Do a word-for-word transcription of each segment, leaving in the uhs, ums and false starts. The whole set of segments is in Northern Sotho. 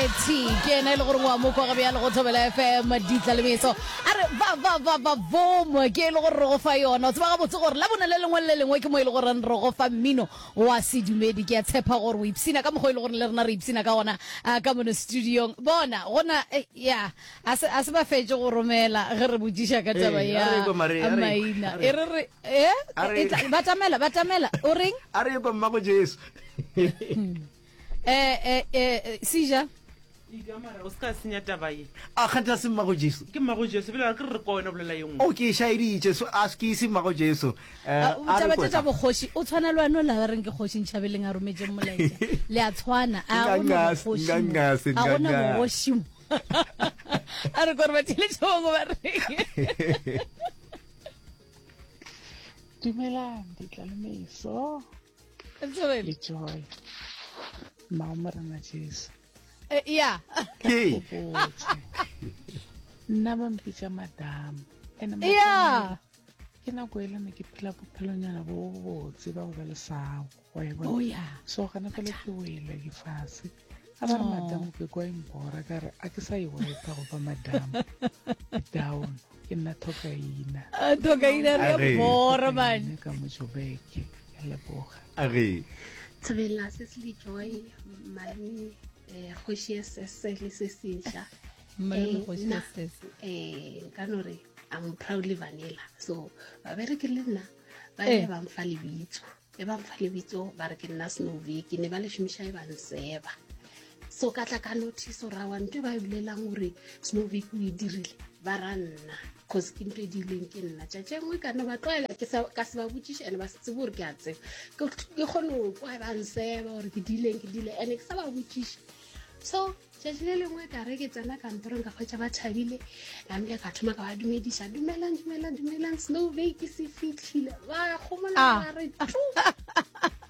Mokgethi ke ena e le gore wa mo kwa bjale go Thobela F M ditla le meso. A re va va va va vom ke e le gore re go fa yona. O tseba gabotse gore la bone le lengwe le le lengwe ke mo e le gore re go fa mmino wa sedumedi. Ke a tshepa gore o ipsina ka mokgwa e le gore le rena re ipsina ka gona ka mono studiong. Bona gona ya a se a se ba fetše go romela ge re botšiša ka taba ya maina. E re re eh batamela batamela o reng? A re kwa mmago Jesu. Eh eh eh Sija. Mara o se ka senya taba ye. A kganthe a se mmago Jesu? Ke mmago Jesu, bjale ke re re kwa wena bolela ye nngwe. O ke šaeditše, so a ke se mmago Jesu. Eh, taba tše tša bokgoši, o tshwana le wena o la ba reng ke kgoši Ntšhabeleng a rometšeng molaetša. Le a tshwana, a gona bogoši mo. A gona bogoši mo. A re kore ba theletše bangwe ba reng. Dumelang, ditlalemeso. Le Joy. Mmago Morena Jesu. Eh, ya. Ke. Nna ba mpitša madam. Ene Ya. Ke nako e le ne ke phela bophelonyana bo botse ba go ba le sago. Wa e bona? Oh, ya. So gana fela ke wele ke fase. A ba re madam ke kwa impora ka re a ke sa e wepa go ba madam. Down. Ke nna Thokaina. Ah, Thokaina re a bora man. Ka mo Joburg. Ke a leboga. Age. Thobela Cecily Joy malome eh kgoši ya sese le se sesha. Malome kgoši ya sese. Eh nka no re I'm proudly vanilla. So babereki le nna ba ile ba mfa lebitso. E ba mfa lebitso ba re ke nna Snowvik ne ba le šomiša e ba nseba. So ka tla ka notice gore awa ntho e ba e bolelang gore Snowvik o e dirile ba ra nna cause ke ntho e diileng ke nna. Tšatši e nngwe ka no ba tlwaela ke sa ka se ba botšiše and ba se tsebe gore ke a tseba. Ke kgone go kwa ba nseba gore ke diileng ke diile and ke sa ba botšiše. So tšatši le lengwe ka re ke tsena kantorong ka hwetša ba thabile, namile ka thoma ka ba dumediša, dumelang dumelang dumelang Snowvik se fihlile. Ba gomola ba re tu.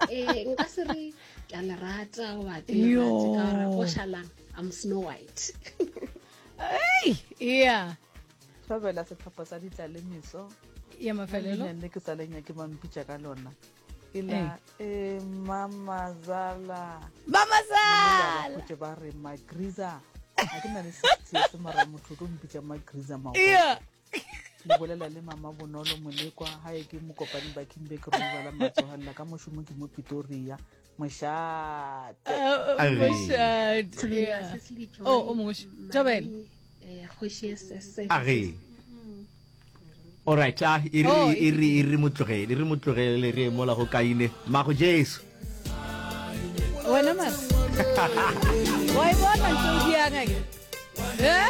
Eh nka se re ke a le rata goba ke le rate ka gore go šalang I'm Snow White. Hey, yeah. Thobela sehlopha sa ditlalemeso. Ya mafelelo. Le ke sa le nyake ba mpitša ka lona. Ke la e mamazala. Mamazala. Go ba re magriza. A ke na le sixty se mara motho o mpitša magriza mago. Yeah. Le bolela le mama Bonolo Molekwa ha e ke mokopane ba Kimbe ke robala matsohalla ka mošomo ke mo Pretoria. Mošate. Mošate. Oh, o mongwe. Thobela. Eh kgoši ya sese. Age. All right, ah e re e re e re motlogele, e re motlogele re mola go kaine. Mago Jesu. Wena mara. Wa e bona ntho o diang ake? Eh?